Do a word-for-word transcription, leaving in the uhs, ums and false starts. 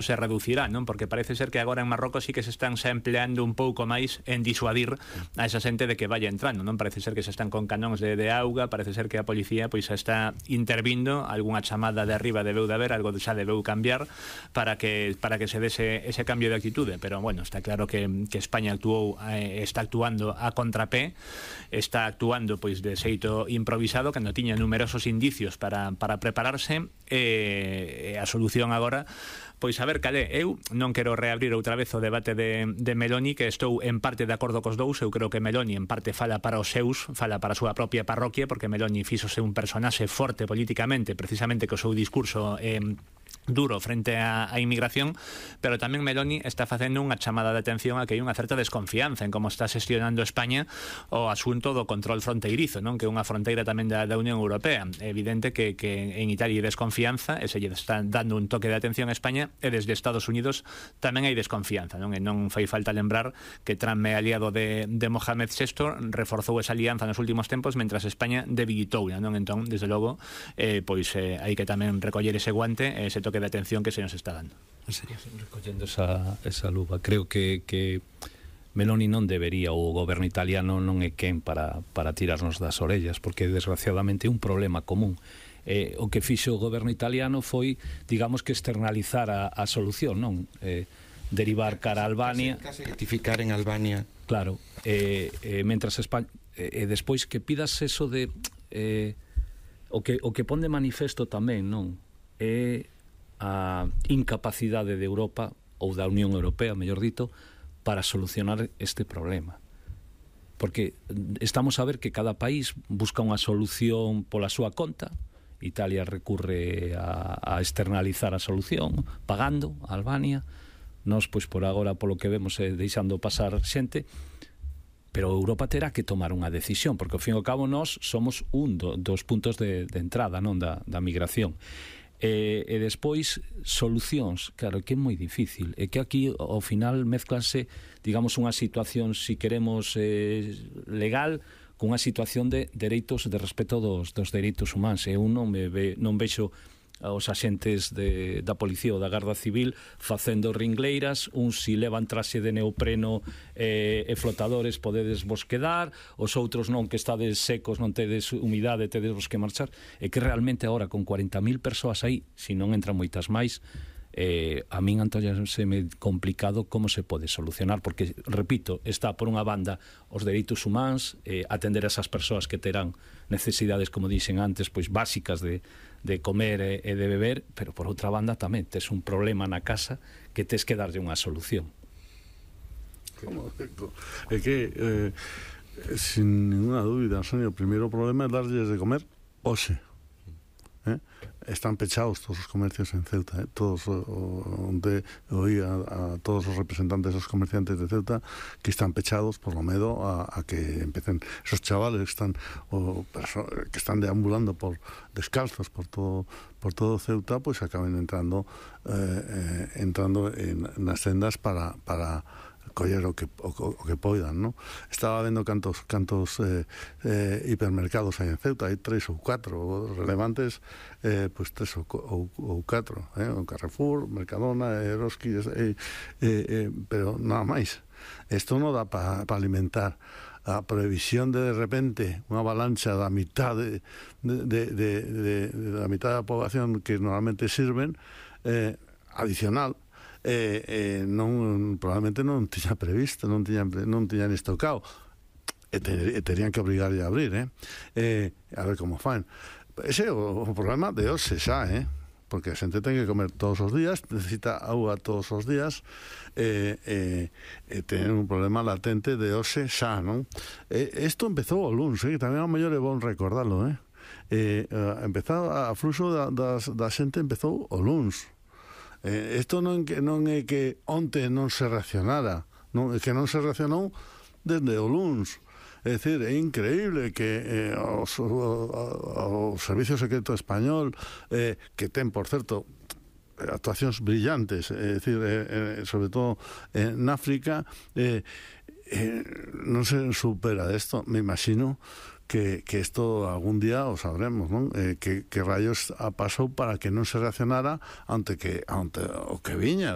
se reducirá, non? Porque parece ser que agora en Marrocos sí que se están se empleando un pouco máis en disuadir a esa xente de que vaya entrando, non? Parece ser que se están con canóns de, de auga, parece ser que a policía pois xa está intervindo, algunha chamada de arriba debeu de haber, algo xa debeu cambiar para que para que se dese ese cambio de actitude, pero bueno, está claro que, que España actuou, eh, está actuando a contrapé, está actuando pois de xeito improvisado, cando tiña numerosos indicios para, para prepararse, e eh, a solución agora pois a ver cal é. Eu non quero reabrir outra vez o debate de, de Meloni, que estou en parte de acordo cos dous. Eu creo que Meloni en parte fala para os seus, fala para a súa propia parroquia, porque Meloni fíxose un personaxe forte políticamente, precisamente co seu discurso eh, duro frente á, á inmigración, pero tamén Meloni está facendo unha chamada de atención a que hai unha certa desconfianza en como está xestionando España o asunto do control fronteirizo, non? Que é unha fronteira tamén da, da Unión Europea. É evidente que, que en Italia hai desconfianza, e se lle está dando un toque de atención a España, e desde Estados Unidos tamén hai desconfianza, non? E non fai falta lembrar que Trump é aliado de, de Mohamed sexto, reforzou esa alianza nos últimos tempos, mentras España debilitou, non? Entón, desde logo, eh, pois eh, hai que tamén recoller ese guante, ese toque de atención que se nos está dando. En serio, recollendo esa, esa luva, creo que, que Meloni non debería, o goberno italiano non é quen para, para tirarnos das orellas, porque desgraciadamente é un problema común. Eh, o que fixo o goberno italiano foi, digamos, que externalizar a, a solución, non? Eh, derivar cara a Albania, case, case rectificar en Albania, claro, eh, eh, mentras España, e eh, despois que pidas eso de eh, o que o que pon de manifesto tamén, non? É a incapacidade de Europa ou da Unión Europea, mellor dito, para solucionar este problema. Porque estamos a ver que cada país busca unha solución pola súa conta. Italia recurre a, a externalizar a solución pagando a Albania. Nós, pois, por agora, polo que vemos, é deixando pasar xente, pero Europa terá que tomar unha decisión, porque ao fin e ao cabo nós somos un do, dos puntos de, de entrada, non, da, da migración. E, e despois solucións, claro, que é moi difícil, é que aquí ao final mezclanse, digamos, unha situación, si queremos, eh, legal, cunha situación de dereitos, de respeto dos, dos dereitos humanos. Eu non me ve, non vexo os axentes de, da policía ou da Garda Civil facendo ringleiras, uns si levan traxe de neopreno eh, e flotadores podedes vos quedar, os outros non, que estades secos, non tedes humidade, tedes vos que marchar. E que realmente agora con cuarenta mil persoas aí, se non entran moitas máis, eh, a min antóllase-me complicado como se pode solucionar, porque, repito, está por unha banda os dereitos humanos, eh, atender a esas persoas que terán necesidades, como dixen antes, pois básicas de, de comer e, e de beber, pero por outra banda tamén tes un problema na casa que tes que darlle unha solución. É que eh, sin ninguna dúbida, Sonia, o primeiro problema é darlles de comer hoxe. Eh? Están pechados todos os comercios en Ceuta, eh? Todos onde oí a, a todos os representantes dos comerciantes de Ceuta que están pechados por lo medo a, a que empecen esos chavales que están o, que están deambulando por descalzos por todo por todo Ceuta, pues acaben entrando eh, eh, entrando en nas sendas para para coller o que, o, o que poidan, ¿no? Estaba vendo cantos cantos eh, eh, hipermercados hai en Ceuta, hai tres ou catro relevantes, eh, pues tres ou, ou, ou catro, eh? O Carrefour, Mercadona, Eroski, eh, eh, eh, pero nada máis. Isto non dá para pa alimentar a previsión de de repente unha avalancha da mitad de, de, de, de, de, de la mitad da población que normalmente sirven, eh, adicional, Eh, eh, non, probablemente non tiña previsto, non tiñan, non tiñan estocado, e, te, e terían que obrigar a abrir, eh? Eh, a ver como fan. Ese é o, o problema de hoxe xa, eh? Porque a xente ten que comer todos os días, necesita auga todos os días, e eh, eh, eh, ten un problema latente de hoxe xa, non? Eh, isto empezou o luns, eh? Que tamén ao mellor é bon recordarlo, eh? Eh, eh, empezou a fluxo da, da, da xente empezou o luns. Eh, isto non, non é que onte non se reaccionara, non, é que non se reaccionou desde o luns. É dicir, é increíble que eh, os, o, o, o Servicio Secreto Español, eh, que ten, por certo, actuacións brillantes, é dicir, eh, eh, sobre todo en África, eh, eh, non se supera isto, me imagino que, que esto algún día o sabremos, non? Eh, que, que rayos pasou para que non se reaccionara ante que ante o que viña.